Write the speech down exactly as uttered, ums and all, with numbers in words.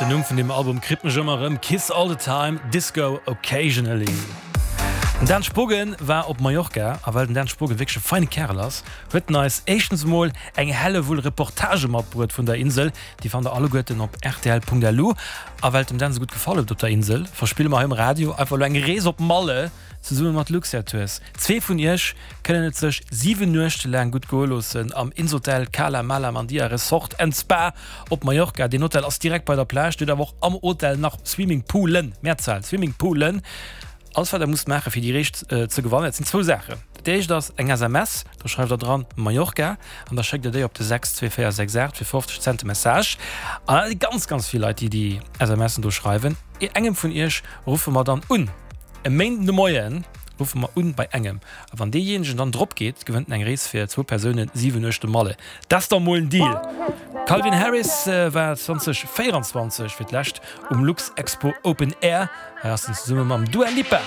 Den Numm vun deem Album kritt mech ëmmer erëm, Kiss All The Time, Disco Occasionally. Den Dan Spogen war op Mallorca a well den Dan Spogen wierklech e feine Kärel ass, huet en eis éischtens emol eng Hellewull Reportagë matbruet vun der Insel. Déi fannt der alleguerten op rtl.lu. A well et dem Dan esou gutt gefall huet op der Insel, verspille mer hei um Radio einfach elo eng Rees op Malle zesumme mat Luxair Tours. Zwee vun iech kënnen et sech siwen Nuechte laang gutt goe loossen am Insotel Cala Mala Mandia Resort and Spa op Mallorca. Deen Hotel ass direkt bei der Plage, dir hutt awer och am Hotel nach Swimmingpoolen, Mehrzahl, Swimmingpoolen. Alles wat der musst maachen fir déi Rees ze gewannen, dat sinn zwou Saachen. Dat éischt ass eng S M S, do schreift der dran Mallorca an da schéckt der déi op de sechs zwee véier sechs aacht fir fofzeg Cent de Message. An dat si ganz ganz vill Leit déi déi S M Sen do schreiwen. Engem vun iech ruffe mer dann un. E Méinden de Moien ruffe mer un bei engem. A wann deejéinegen dann drop geet, gewënnt en eng Rees fir zwou Persounen siwen Nuechte Malle. Dat ass da mol en Deal! Calvin Harris war zwanzeg véieranzwanzeg fir d'lescht um Luxexpo Open Air. Hei ass en zesumme mam Dua Lipa.